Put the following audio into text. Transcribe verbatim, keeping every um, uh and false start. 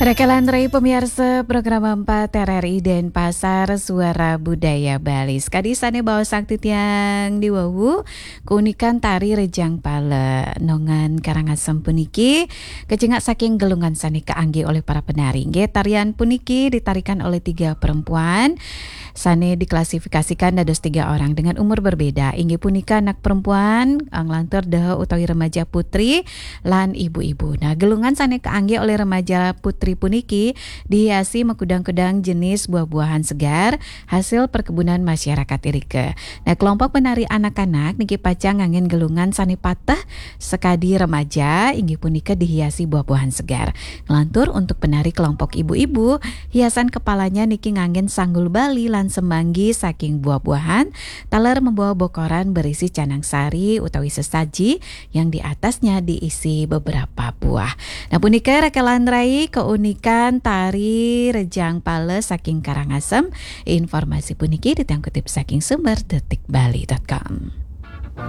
Rekelan rai pemiarsa program empat R R I Denpasar, Suara Budaya Bali. Sekadi sane baosang titiang di wau, keunikan tari Rejang Pala nongan Karangasem puniki kecingak saking gelungan sane kaangge olih para penari. Nggih, tarian puniki ditarikan oleh tiga perempuan sane diklasifikasikan dados tiga orang dengan umur berbeda. Inggih punika anak perempuan, eh, nglantur deha utawi remaja putri, lan ibu-ibu. Nah, gelungan sane kaangge oleh remaja putri puniki dihiasi makudang-kudang jenis buah-buahan segar hasil perkebunan masyarakat irika. Nah, kelompok penari anak-anak niki pacang nganggen gelungan sane pateh sakadi remaja, inggih punika dihiasi buah-buahan segar. Nglantur untuk penari kelompok ibu-ibu, hiasan kepalanya niki nganggen sanggul Bali lan semanggi saking buah-buahan, taler membawa bokoran berisi canang sari utawi sesaji yang di atasnya diisi beberapa buah. Nah, punika rekelan rai keunikan tari Rejang Pala saking Karangasem. Informasi puniki titiang kutip saking sumber detik bali dot com.